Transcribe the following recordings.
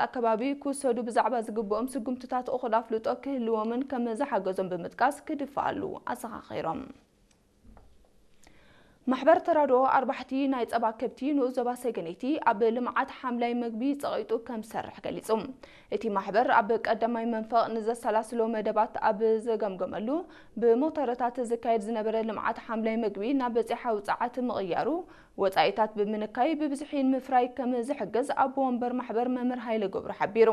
ኣከባቢ ክውሰዱ ብዛዕባ ዝግብኦም ስጉምትታት እኹል ኣፍልጦ ክህልዎምን ከም ዝሓገዞም ብምጥቃስ ክድፍኣሉ ኣዘኻኺሮም። ማሕበር ተራድኦ ኣርባሕቲ ናይ ጸባ ከብቲ ንኡስ ዞባ ሰገነይቲ ኣብ ልምዓት ሓምላይ መግቢ ጸቒጡ ከም ዝሰርሕ ገሊጹ። እቲ ማሕበር ኣብ ቀዳማይ መንፈቕ ንዘሰላስሎ መደባት ኣብ ዘገምገመሉ፣ ብሞተረታት ዝካየድ ዝነበረ ልምዓት ሓምላይ መግቢ ናብ በጺሓ ውጽዓት ምቕያሩ፣ ወጻኢታት ብምንካይ ብብዝሒ ንምፍራይ ከም ዝሕግዝ ኣቦ ወንበር ማሕበር መምህር ሃይለ ገብሩ ሓቢሩ።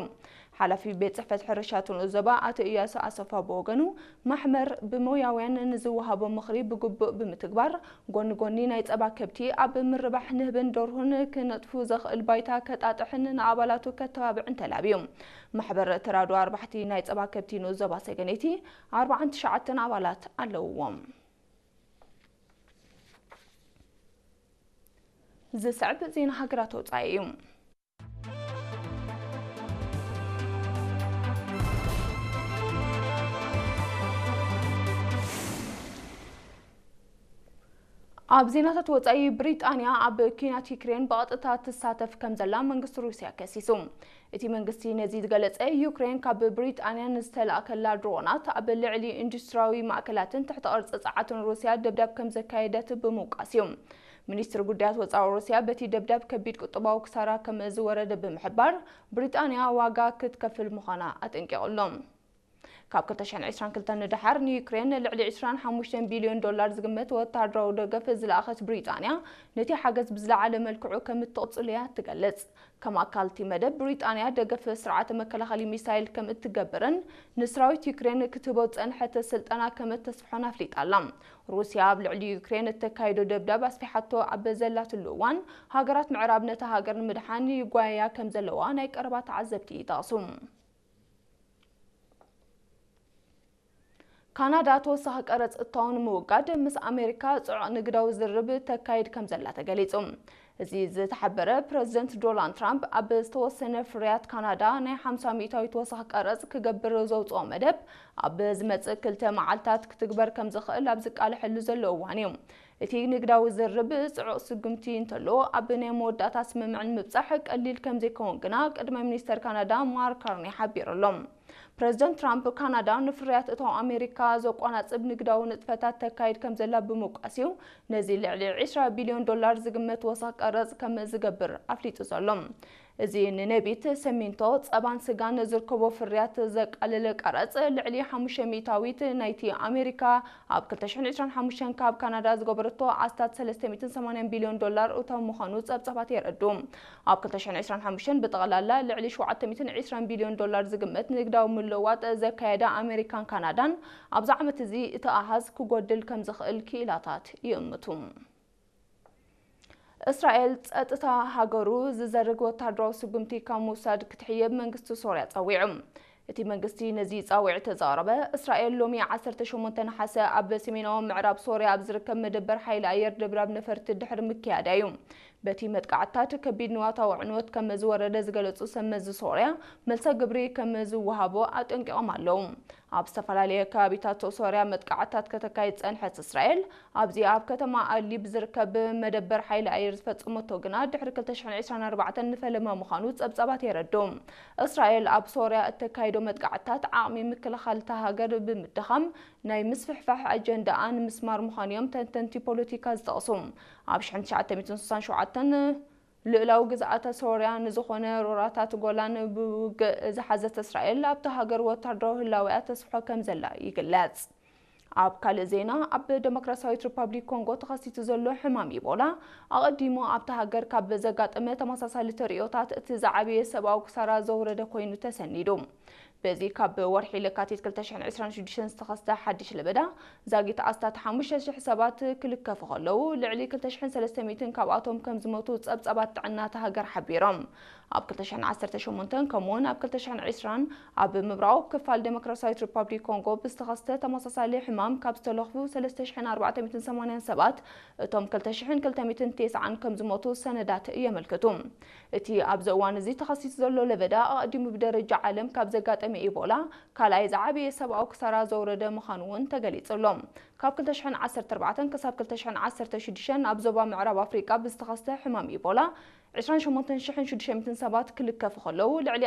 ሓላፊ ቤት ጽሕፈት ሕርሻ ትንኡ ዞባ ኣቶ እያሱ ኣሰፋ ብወገኑ፣ ማሕበር ብሞያውያን ንዝወሃቦ ምኽሪ ብግቡእ ብምትግባር፣ ጎኒ ጎኒ ናይ ጸባ ከብቲ ኣብ ምርባሕ ንህብን ደርሁን ክነጥፉ ዘኽእል ባይታ ከጣጥሕን ንኣባላቱ ከተባብዕን ተላብዩ። ማሕበር ተራድኦ ኣርባሕቲ ናይ ጸባ ከብቲ ንኡስ ዞባ ሰገነይቲ ኣርባዓን ትሽዓተን ኣባላት ኣለውዎም። ዝስዕብ ዜና ሃገራት ወጻኢ እዩ። ኣብ ዜናታት ወጻኢ፣ ብሪጣንያ ኣብ ኲናት ዩክሬን ብቐጥታ ትሳተፍ ከም ዘላ መንግስቲ ሩስያ ከሲሱ። እቲ መንግስቲ ነዚ ዝገለጸ፣ ዩክሬን ካብ ብሪጣንያ ንዝተላእከላ ድሮናት ኣብ ልዕሊ ኢንዱስትሪያዊ ማእከላትን ትሕተ ቅርጺ ጸዓትን ሩስያ ደብዳብ ከም ዘካየደት ብምውቃስ እዩ። ሚኒስትሪ ጉዳያት ወጻኢ ሩስያ በቲ ደብዳብ ከቢድ ቁጠባዊ ክሳራ ከም ዝወረደ ብምሕባር፣ ብሪጣንያ ዋጋ ክትከፍል ምዃና ኣጠንቂቑ ኣሎ። ካብ ክልተ ሽሕን ዕስራን ክልተን ንደሓር ንዩክሬን ልዕሊ ዕስራን ሓሙሽተን ቢልዮን ዶላር ዝግመት ወተሃደራዊ ደገፍ ዝለኣኸት ብሪጣንያ፣ ነቲ ሓገዝ ብዝለዓለ መልክዑ ከም እትቕጽሎ እያ ትገልጽ። ከም ኣካል እቲ መደብ፣ ብሪጣንያ ደገፍ ስርዓተ መከላኸሊ ሚሳይል ከም እትገብርን ንሰራዊት ዩክሬን ክትህቦ ዝጸንሐት ስልጠና ከም እተስፍሖን ኣፍሊጣ ኣላ። ሩስያ ኣብ ልዕሊ ዩክሬን እተካይዶ ደብዳብ ኣስፊሓቶ ኣብ ዘላትሉ እዋን፣ ሃገራት ምዕራብ ነታ ሃገር ንምድሓን ይጓየያ ከም ዘለዋ ናይ ቀረባ ተዓዘብቲ ይጠቕሱ። ካናዳ ተወሳኺ ቀረጽ እታው ንምውጋድ ምስ ኣሜሪካ ጽዑቕ ንግዳዊ ዝርርብ ተካይድ ከም ዘላ ተገሊጹ። እዚ ዝተሓበረ፣ ፕረዚደንት ዶናልድ ትራምፕ ኣብ ዝተወሰነ ፍርያት ካናዳ ናይ ሓምሳ ሚእታዊት ተወሳኺ ቀረጽ ክገብር ዘውጽኦ መደብ ኣብ ዝመጽእ ክልተ መዓልታት ክትግበር ከም ዝኽእል ኣብ ዝቃለሐሉ ዘሎ እዋን እዩ። እቲ ንግዳዊ ዝርርብ ጽዑቕ ስጉምቲ እንተሎ፣ ኣብ ናይ መወዳእታ ስምምዕ ንምብጻሕ ቀሊል ከም ዘይከውን ግና ቀዳማይ ሚኒስተር ካናዳ ማርክ ካርኒ ሓቢሩ ኣሎ። ፕረዚደንት ትራምፕ፣ ካናዳ ንፍርያት እታው ኣሜሪካ ዘቆናጽብ ንግዳዊ ንጥፈታት ተካይድ ከም ዘላ ብምውቃስ እዩ፣ ነዚ ልዕሊ ዕስራ ቢልዮን ዶላር ዝግመት ወሰኽ ቀረጽ ከም ዝገብር ኣፍሊጡ ዘሎ። እዚ ንነቢት፣ ሰሚንቶ፣ ጸባን ስጋን ዝርከቦ ፍርያት ዘቃልል ቀረጽ፣ ልዕሊ ሓሙሽተ ሚእታዊት ናይቲ ኣሜሪካ ኣብ ክልተ ሽሕን ዕስራን ሓሙሽተን ካብ ካናዳ ዝገበረቶ ኣስታት ሰለስተ ሚእትን ሰማንያን ቢልዮን ዶላር እታው ምዃኑ ጸብጻባት የረድኡ። ኣብ ክልተ ሽሕን ዕስራን ሓሙሽተን ብጠቕላላ ልዕሊ ሸውዓተ ሚእትን ዕስራን ቢልዮን ዶላር ዝግመት ንግዳዊ ምልውዋጥ ዘካየዳ ኣሜሪካን ካናዳን፣ ኣብዚ ዓመት እዚ እቲ ኣሃዝ ክጎድል ከም ዝኽእል ክኢላታት ይእምቱ። እስራኤል ጸጥታ ሃገሩ ዝዘርግ ወተሃደራዊ ስጉምቲ ካብ ምውሳድ ክትሕየብ መንግስቲ ሶርያ ጸዊዑ። እቲ መንግስቲ ነዚ ጻውዒት ዘቕረበ፣ እስራኤል ሎሚ ዓሰርተ ሸሞንተ ነሓሰ ኣብ ሰሜናዊ ምዕራብ ሶርያ ኣብ ዝርከብ መደበር ሓይሊ ኣየር ደብዳብ ነፈርቲ ድሕሪ ምክያዳ እዩ። በቲ መጥቃዕትታት ከቢድ ንዋታዊ ዕንወት ከም ዝወረደ ዝገለጹ ሰብ መዚ ሶርያ፣ መልሰ ግብሪ ከም ዝወሃቦ ኣጠንቂቖም ኣለዉ። ኣብ ዝተፈላለየ ከባቢታት ሶርያ መጥቃዕትታት ከተካይድ ጸንሐት እስራኤል፣ ኣብዚ ኣብ ከተማ ኣድሊብ ዝርከብ መደበር ሓይሊ ኣየር ዝፈጸመቶ ግና ድሕሪ ክልተ ሽሕን ዕስራን ኣርባዕተን ንፈለማ ምዃኑ ጸብጻባት የረድኡ። እስራኤል ኣብ ሶርያ እተካይዶ መጥቃዕትታት ዓቕሚ ምክልኻል እታ ሃገር ብምድኻም ናይ ምስፍሕፋሕ ኣጀንዳኣ ንምስማር ምዃኑ እዮም ተንተንቲ ፖለቲካ ዝጠቕሱ። ኣብ ሽሕን ትሽዓተ ሚእትን ስሳን ሸውዓተን ልኡላዊ ግዝኣተ ሶርያ ንዝኾነ ሮራታት ጎላን ብውግእ ዝሓዘት እስራኤል ኣብታ ሃገር ወታደራዊ ህላዌኣ ተስፍሖ ከም ዘላ ይግለጽ። ኣብ ካልእ ዜና፣ ኣብ ደሞክራሲያዊት ሪፓብሊክ ኮንጎ ተኸሲቱ ዘሎ ሕማም ኢቦላ፣ ኣቐዲሙ ኣብታ ሃገር ካብ ዘጋጠመ ተመሳሳሊ ተርእዮታት እቲ ዝዓበየ ሰብኣዊ ክሳራ ዘውረደ ኮይኑ ተሰኒዱ። በዚ ካብ ወርሒ ለካቲት ክልተ ሽሕን ዕስራን ሽዱሽተን ዝተኸስተ ሓድሽ ለበዳ፣ ዛጊት ኣስታት ሓሙሽተ ሽሕ ሰባት ክልከፉ ከለዉ፣ ልዕሊ ክልተ ሽሕን ሰለስተ ሚእትን ካብኣቶም ከም ዝሞቱ ጸብጻባት ጥዕና እታ ሃገር ሓቢሮም። ኣብ ክልተ ሽሕን ዓሰርተ ሸሞንተን ከምኡውን ኣብ ክልተ ሽሕን ዕስራን ኣብ ምብራቓዊ ክፋል ደሞክራሲያዊት ሪፓብሊክ ኮንጎ ብዝተኸስተ ተመሳሳሊ ሕማም ካብ ዝተለኽፉ ሰለስተ ሽሕን ኣርባዕተ ሚእትን ሰማንያን ሰባት፣ እቶም ክልተ ሽሕን ክልተ ሚእትን ተስዓን ከም ዝሞቱ ሰነዳት የመልክቱ። እቲ ኣብዚ እዋን እዚ ተኸሲቱ ዘሎ ለበዳ፣ ኣቐዲሙ ብደረጃ ዓለም ካብ ዘጋጠመ ኢቦላ ካልኣይ ዝዓበየ ሰብኣዊ ክሳራ ዘውረደ ምዃኑ እውን ተገሊጹ ኣሎ። ካብ ክልተ ሽሕን ዓሰርተ ኣርባዕተን ክሳብ ክልተ ሽሕን ዓሰርተ ሽዱሽተን ኣብ ዞባ ምዕራብ ኣፍሪቃ ብዝተኸስተ ሕማም ኢቦላ፣ ዕስራን ሸሞንተን ሽሕን ሽዱሽተ ሚእትን ሰባት ክልከፉ ከለዉ፣ ልዕሊ